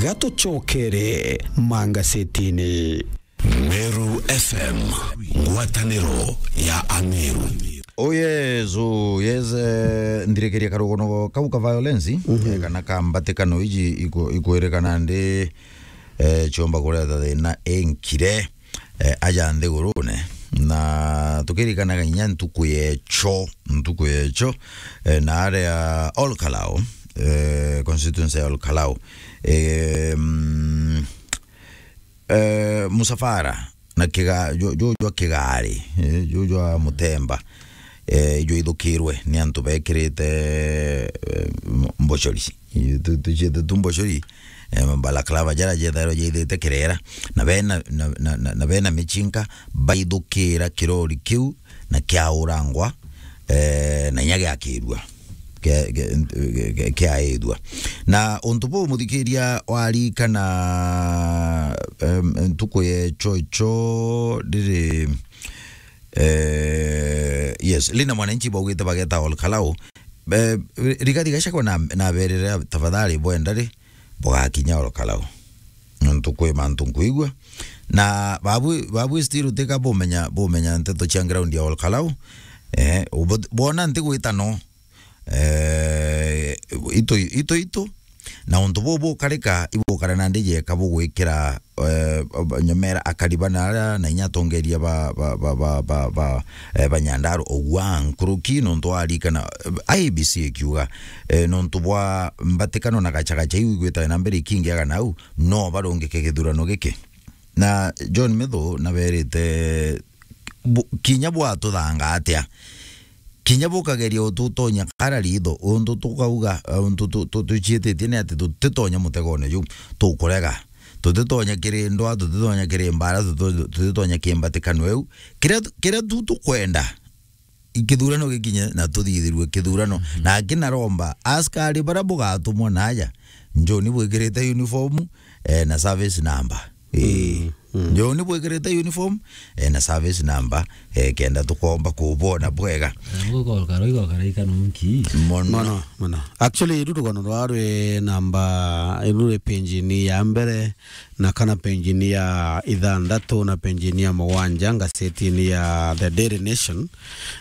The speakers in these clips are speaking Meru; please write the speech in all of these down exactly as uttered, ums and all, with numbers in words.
Gatucokere mangasetini. Meru F M, ngwataniro ya Ameru. Oh yes, oh yes, eh, nthirikiria karugono kau ka violence, eh, kana ka mbatikano iji iku-, ikwirikana ndi, eh, ciomba kureta thina inkire, eh, aja nthigurune. Na tukirikanaga inya ntuku yecho, ntuku yecho, eh, na aria Ol Kalou, eh, constituency ya Ol Kalou, eh, mm, eh, musafara na kiga-, ju-, ju-, jwa kigari, eh, ju-, jwa mutemba, eh, ijwaithukirwe ni antu bekirite, eh, m-, mbochori. Tu-, tuciete tu mbochori, eh, balaclava jara jethairwa jaithite kirera, na bena, na, na, na, na bena michinka baithukira kirori kiu na kiaurangwa, eh, na inya giakirua, ke-, ke-, ke-, kiaithua. Na untu buu, muthikiria, warikana, em, ntuku yecho icho riri, eh, yes, Linda Mwananchi baugite bageta Ol Kalou. Eh, Rigathi Gachagua na, naberire, "Tafadhali bwenda ri, bugakinya Ol Kalou." Nontu kwi mantu nkwigua. Na babu, babu still utika bumenya, bumenya nteto cia ground ya Ol Kalou. Eh, ubo-, bwona ntigwita no. Eh, itu, itu, itu. Na untu buu bukarika, ibukara na ndiji eka bugwikira, eh, nyomera akari bana aria na inya atongeria ba, ba, ba, ba, ba, ba, eh, ba Nyandarua ugwa nkuruki, nontu warikana, eh, I E B C ikiuga, eh, nontu bwa mbatikano na gachagacha iu igwitawe na mbere ikingiaga nau, no barungike githurano giki. Na John Methu naberite, bu-, kinya bwatuthanga atia, kinya bukageria ututonya kara ritho, untu tukauga, eh, untu tu-, tu-, tuciititie ni ati tutitonya mutegone juu, tukurega. Tutitonya kiri ndwa, tutitonya kiri mbara, tutu-, tutitonya kiri mbatikano iu. Kiria, kiria tu tukwenda, kithurano gikinye na tuthithirue kithurano. Mhm. Na aki naromba askari baria bugatumwa naja, njoni bwikirite uniform, eh, na service number. Ii. Mm, mm. Njoni bwikirite uniform, eh, na service number, eh, kenda tukomba kubona bwega. Na gukorwo karo igokara ikano nki? Mono. Mono, mono. Actually, iru rugono rwa rwi namba, iru rwi page-ini ya mbere, na kana page-ini ya ithanthatu na page-ini ya mugwanja ngasetini ya The Daily Nation.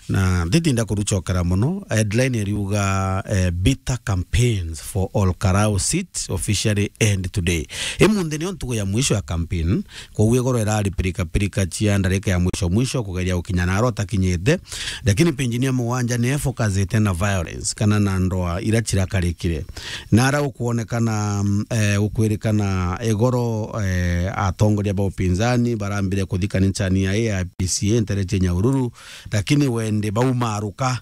Na nditinda kurucokera mono, headline iriuga, eh, "Bitter campaigns for Ol Kalou seat officially end today." Imunthi nio ntugu ya mwisho ya campaign, koguo igoro irari pirika pirika cia ndarika ya mwisho mwisho kugeria gukinya naro atakinyite. Lakini page-ini ya mugwanja ni efocusite na violence kana na ndoa ira cirakarikire. Nara ukwonekana, mm, eh, ukwirikana igoro, eh, atongoria ba upinzani barambire kuthi kanisani ya A I P C A ntere cia Nyahururu, lakini wendi baumaruka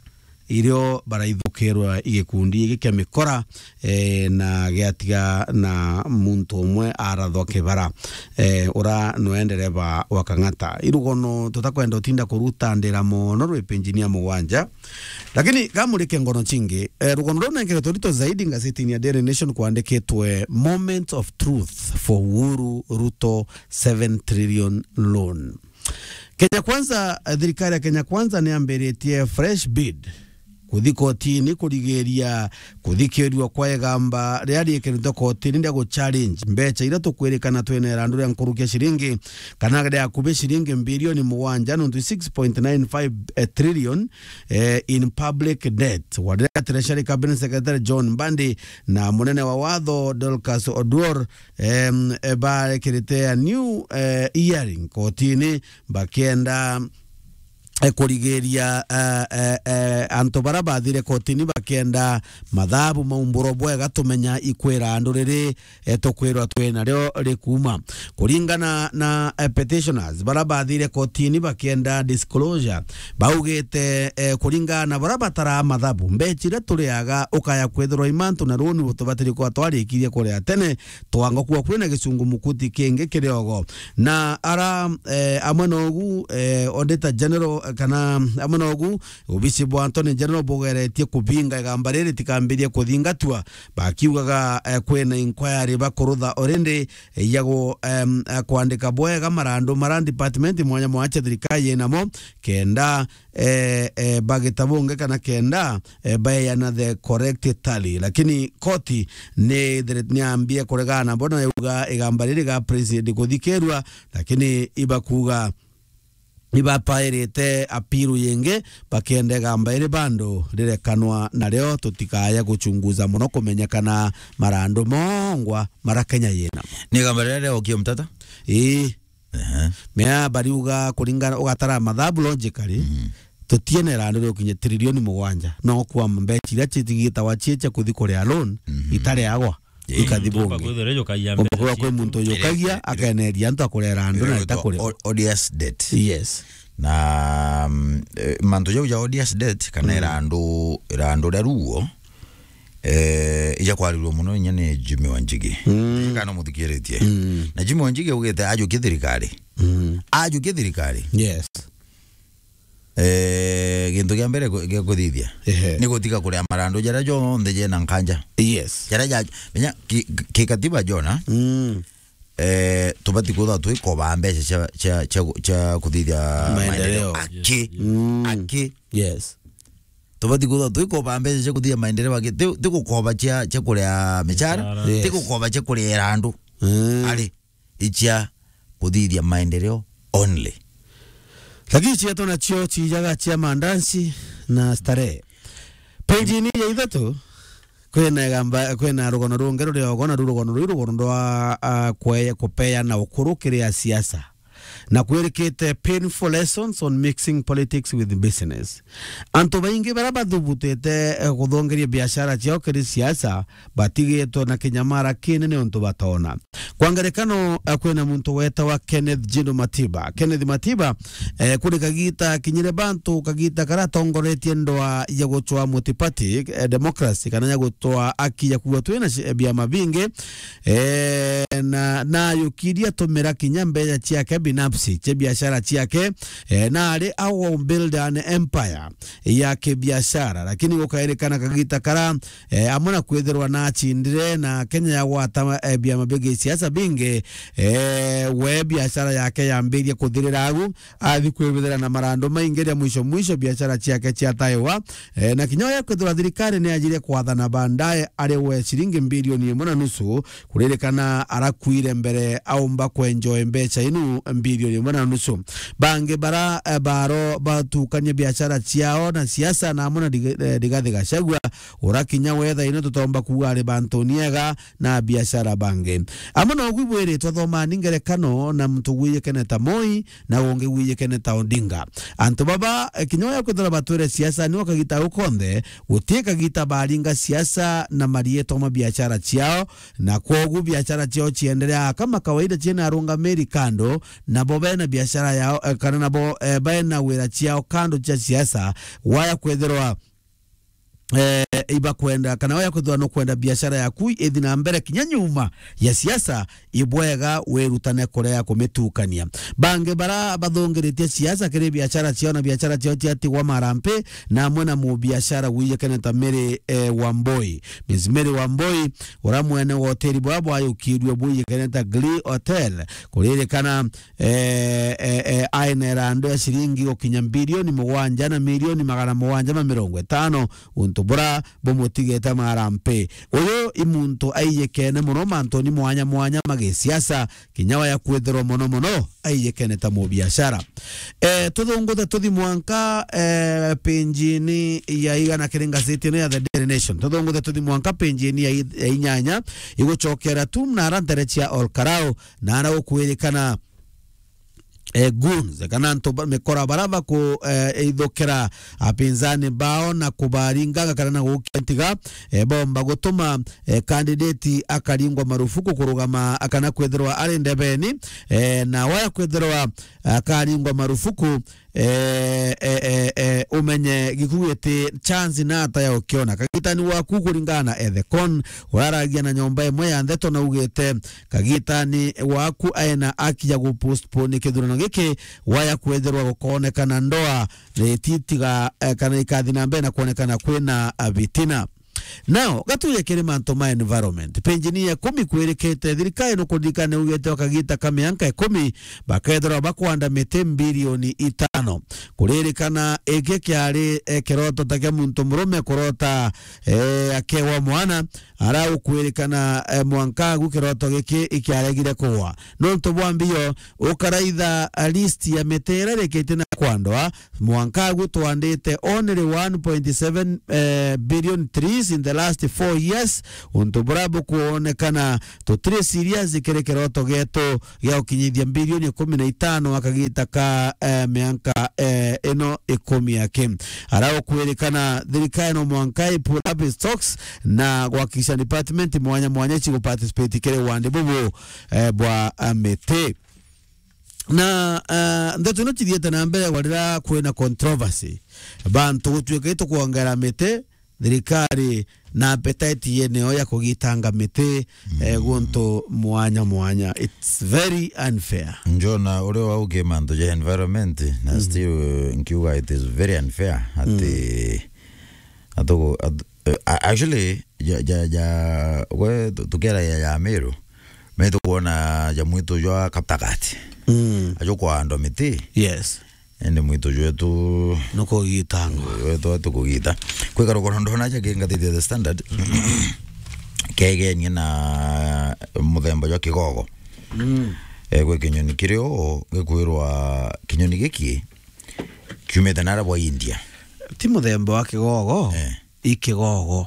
irio baraithukirwa i gikundi giki kia mikora, eh, na giatiga na muntu umwe arathwa kibara, eh, ura nwe ndereba wa Kang'ata. Irugono tutakwenda utinda kurutandira mono rwi page-ini ya mugwanja, lakini gamurike ngono cingi, eh, rugono ruu nengeretwe rito zaidi ngazetini ya Daily Nation kwandikitwe, "Moment of truth for Uhuru Ruto seven trillion loan." Kenya Kwanza, eh, thirikari ya Kenya Kwanza niambiritie fresh bid kuthi kotini kurigiria kuthikirua kwa igamba riria riikiritwe kotini ria guchallenge mbecha iria tukwirikana twina irandu ria nkuruki ya ciringi, kana ria akubi ciringi mbirioni mugwanja nontu six point nine five trillion, eh, in public debt. Waria Treasury Cabinet Secretary John Mbadi na munene wa watho Dorcas Oduor, em, eh, barekirite a new, eh, hearing kotini bakienda, eh, kurigiria, eh, eh, eh, antu bara bathire kotini bakienda mathabu maumburo bwega tumenya ikwira andu riri, eh, tukwirwa twina rio rikuuma. Kuringana na, eh, petitioners bara bathire kotini bakienda disclosure, baugite, eh, kuringana na bara bataraa mathabu, mbecha iria turiaga ukaya kwithirwa imantu na runi butubatiri kwa twarikirie kuria tene, twanga kuwa kwina gicungu mukuti kingi kiriogo. Na ara, eh, amwe nogu, eh, Auditor General, kana amwe nogu, obisi bwa Attorney General bugeretie kubinga igamba riri ritikambirie kuthingatwa, bakiugaga, eh, kwina inquiry bakurutha already, eh, ya gu-, em, eh, kwandika bwega marandu mara department mwanya mwanya cia thirikari inamo, kenda, eh, eh, bagita bungi kana kenda, eh, baeyana the correct tally. Lakini koti ni, niambie kuregana nabo na yauga igamba riri ga president kuthikirwa, lakini ibakuga ibapairite appeal yingi, bakienda igamba iri bando rirekanwa nario, tutikaya guchunguza muno kumenyekana marandu mongwa mara Kenya yinamo. Ni igamba riria riaokie mtata? Ii. Ehe. Mea bariuga kuringana, ugatara mathabu logically, mm, tutiene irandu riukinya trilioni mugwanja. No kwa mbeca iria citigitagwa cie cia kuthi kuria loan, mhm, itariagwa, ikathi bungi. Kwithirwa kwi muntu yukagia, akeneria antu akurera andu na itakuria. O-, odious debt. Yes. Na, mm, eh, mantu jau ja odious debt, kana, mm, irandu, irandu ria ruo, eh, ija kwarirua muno inya ni Jimmy Wanjigi. Mm. Kana muthikiritie. Mm. Na Jimmy Wanjigi augite ajukie thirikari. Mm. Ajukie thirikari. Yes. Eh, gintu gia mbere ku-, gia kuthithia, ehe, ni gutiga kuria marandu jaria jonthe jena nkanja. Yes. Jaria ja, menya ki, ki katiba jona, mm, eh, tubati kwithirwa twikoba mbeca cia, cia, cia, cia kuthithia maendeleo. Maendeleo. Aki. Yes, yes. Mm. Aki. Yes. Tubati kwithirwa twikoba mbeca cia kuthithia maendeleo aki. Ti, ti gukoba cia, cia kuria michara, michara, yes, ti gukoba cia kuria irandu. Mm. Ari. Icia kuthithia maendeleo only. Lakini cietu nacio ciijaga cia mandansi na starehe. Page-ini ya ithatu, kwina igamba, kwina rugono rungi ruri ogo, na ru rugono rui rugono rwa, ah, kwe-, kupeana ukuru kiri asiasa. Na kwirikite painful lessons on mixing politics with business. Antu baingi baria bathubutite, eh, kuthongeria biashara ciao kiri siasa, batigitwe na kinyamara kinene untu batona. Kwa ngerekano, eh, kwina muntu wetawa Kenneth Jino Matiba. Kenneth Matiba, eh, kuri kagita kinyire bantu, kagita karia atongoretie ndwaa ya gucwa multiparty, eh, democracy, kana ya gucwa aki ya kuuga twina ci-, biama bingi, eh, na, na ayukirie atumira kinya mbeca ciake binafsi, cia biashara ciake, eh, na ari awa build an empire ya kibiashara, lakini gukairikana kagita kara, eh, amwe na kwithirwa na acindire na Kenya yagwata, eh, biama bia gisiasa bingi, eh, we biashara yake yambirie kuthirira agu, athi kwibithira na marandu maingi ria mwisho mwisho biashara ciake ciataiwa, eh, na kinya uria kwithirwa thirikari ni yajire kwathana baadaye ari we ciringi mbilioni imwe na nusu, kuririkana arakuire mbere aumba kwenjoy mbeca inu mbilioni imwe na nusu. Bangi bara, eh, baro batukania biashara ciao na siasa na amwe na Riga-, eh, Rigathi Gachagua, ura kinya wetha ino tutomba kuuga ari bantu niega na biashara bangi. Amwe na ugu ibwiritwe thomani ngerekano na muntu gwiyikene ta Moi, na ungi gwiyikene ta Odinga. Antu baba, eh, kinya uria kwithirwa batwire siasa ni ukagita au konthe, guti kagita baringa siasa na marietwa ma biashara ciao, na kwogu biashara ciao cienderea kama kawaida ciena arungamiri kando, nabo bena biashara yao, eh, kana nabo, eh, bena wira ciao kando cia siasa, waya kwithirwa, eh, ibakwenda, kana waya kwithirwa nukwenda biashara yaku ithi na mbere kinya nyuma ya siasa, ibwega wirutane kurea kumitukania. Bangi bara bathungiritie siasa kiri biashara ciao na biashara ciao ciatigwa marampi, na amwe na mubiashara gwiyikene ta Mary, eh, Wambui. Miss Mary Wambui, ura mwene wa hoteli bwa bwayukirue bwiyikene ta Glee Hotel, kuririkana, eh, eh, eh, aina irandu ya ciringi gukinya mbilioni mugwanja na milioni magana mugwanja ma mirongo itano, untu bura bumutigite marampi. Uyu i muntu aiyikene muno mantuni mwanya mwanya ma gisiasa, kinya waya kwithirwa muno muno aiyikene ta mubiashara. Eh, tuthunguthe tuthi mwanka, eh, page-ini ya igana kiri ngazeti ino ya The Daily Nation. Tuthunguthe tuthi mwanka page-ini ya i-, ya inyanya, igucokera tu na ara ntere cia Ol Kalou, na ara gukwirikana, eh, goons, kana antu ba, mikora bara baku, eh, ithukira apinzani bao na kubaringaga kana na gukia ntiga, eh, bomba gutuma, eh, candidate akaringwa marufuku kurugama kana kwithirwa ari ndebeni, eh, na waya kwithirwa akaringwa marufuku, eh, eh, eh, eh, umenye gikugu giti chance na ata ya ukiona. Kagitani waku kuringana na Ethekon, uraragia na nyomba imwe ya ndeto na ugite, kagitani waku aena aki ya gupostpone kithurano giki, waya kwethirwa gukonekana ndoa, eh, titiga, eh, kana ikathi na mbere na kuonekana kwina, ah, bitina. Now, gatuje kiri mantu ma environment. Penjini ya ikumi kwirikite, thirikari nukuririkana ugite wa kagita ka mianka ikumi, bakethirwa bakwanda miti mbilioni itano. Kuririkana iki kiari, eh, kiroto ta kia muntu murume kurota, eh, akewa mwana, ara ukwirikana, eh, mwanka agu kiroto giki ikiaregire kugwa. Nontu bwa mbio, ukaraitha, eh, list ya miti iria irikitie na kwandwa, mwanka agu twandite only one point seven, eh, billion trees in the last four years. Untu buria bukwonekana tutiri serious kiri kiroto gietu gia gukinyithia mbilioni ikumi na itano a kagita ka, eh, mianka, eh, ino ikumi aki. Ara ukwirikana thirikari no mwanka i pull up stocks na gwakikisha department mwanya mwanya cigu participate kiri wandi bubu, eh, bwa, eh, miti. Na, ah, ndeto ino cithiete na mbere gwa riria kwina controversy. Bantu gutuika itukwongera miti, thirikari na appetite yeneo ya kugitanga miti, eh, guntu mwanya mwanya. It's very unfair. Njona uria waukie mantu ja environment, na still, eh, nkiuga it is very unfair ati, atugu-, at-, eh, a-, actually, ja, ja, ja, we tu-, tukiaragia ja Meru, me tukwona ja mwitu jwa Kaptagat. Mm. Ajo kwandwa miti. Yes. Indi mwitu jwetu nukugitangwa. Jwetu atukugita. Kwi karugano ndona aja kingatithia The Standard. Kegenie na muthemba jwa kigogo. Mm. Eh, gwi kinyoni kiri o, gikwirwa kinyoni giki kiumite nara bwa India. Ti muthemba wa kigogo, eh, i kigogo.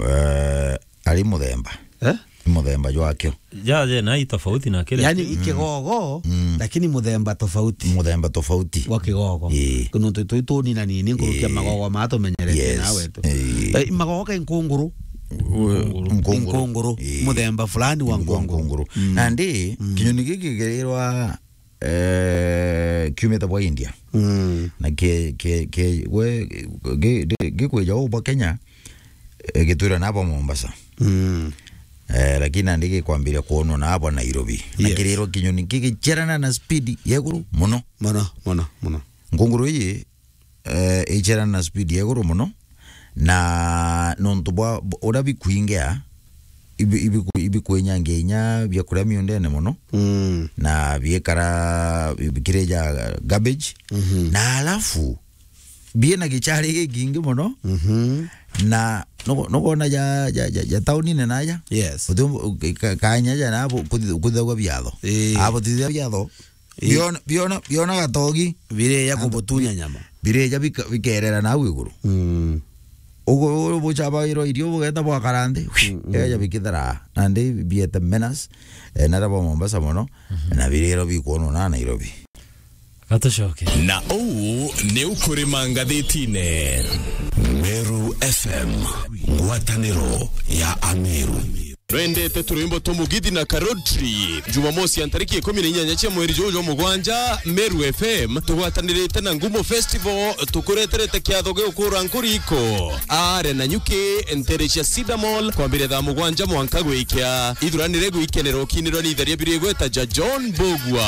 Eh, ari muthemba. Eh? Ni muthemba jwakio. Ja, ja, na i tofauti na kile. Yani, i kigogo, mm, lakini muthemba tofauti. Muthemba tofauti. Wa kigogo. Ii. Kuntu twi tunini na nini, nkurukia, ii, magogo ma tumenyerete, yes, nawe tu. Ii. Eh, magogo ke nkunguru. Nkunguru. Nkunguru. Ii. Muthemba fulani wa nkunguru. Nkunguru. Mm. Nandi, mm, kinyoni giki kirirwa eh, kiumite bwa India. Mm. Na ke, ke, ke, we, gi-, gi-, gikwija uu bwa Kenya, eh, gitwira na bwa Mombasa. Mm. Eh, lakini nandi gikwambiria kwonwa na bwa Nairobi. Na, yes, kirirwa kinyoni gigicerana na speed ya iguru muno. Muno, muno, muno. Nkunguru iji, eh, icerana na speed ya iguru muno, na nontu bwa, bwa uria bikwingia, ibi-, ibiku-, ibikwinyangia inya biakuria miundene muno, mm, na biekara bi-, bikirija garbage, mhm, na alafu biena gichari gikingi muno, mhm, na nuko-, nukona ja, ja, ja, ja taunine naja. Yes. Uti-, ka-, kanya ja nabo kuthi-, kuthithagua biatho. Ii. Abo tithia biatho, ii, biona, biona, biona gatogi. Birija kubutunya nyama. Birija bika-, bikerera nau iguru. Mm. Ugu, ugu bucabagirwa irio bugeta bwakara nthi. Mm, mm. Eja bikithera. Nandi biete menace, eh, nara bwa Mombasa muno, mhm, na biriro bikwonwa na Nairobi. Gatucoke. Na uu niu kurima ngathitine. Meru F M, ngwataniro ya Ameru. Nwendete turwimbo twa Mugithi na Karotri? Jumamosi ya ntariki ikumi na inyanya cia mweri juju jwa mugwanja, Meru F M tugwatanirite na Ngumo Festival tukureterete kiatho gia gukura nkuriko, Aare na Nyuki, ntere cia Cedar Mall, kwambiria thaa mugwanja mwanka gwikia. Ithuranire gwikenera ukinirwa ni itheria biri igweta ja John Mbugua.